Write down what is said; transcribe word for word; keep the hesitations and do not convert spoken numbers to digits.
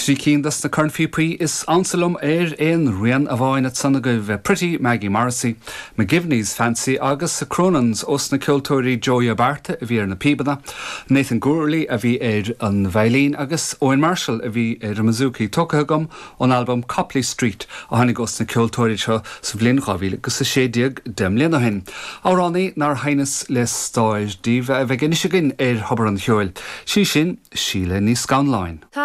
Trí cinn de na cornphíopaí is ansa liom ar aon rian amháin ansan agaibh Pretty Maggie Morrissey, McGivney's Fancy agus sa Cronans ós na ceoltóirí Joey Abarta a bhí ar na píobanna, Nathan Gourley a bhí ar an veidhlín agus Owen Marshall a bhí ar an mbouzouki tógtha agam ón album Copley Street a tháinig ós na ceoltóirí seo sa bhliain dhá mhíle agus a sé déag deich mbliana ó shin. Amhránaí nár sheinneas le stair daoibh a bheidh anois againn ar Thobar an Cheoil. Sí sin Síle Ní Scanláin. Tá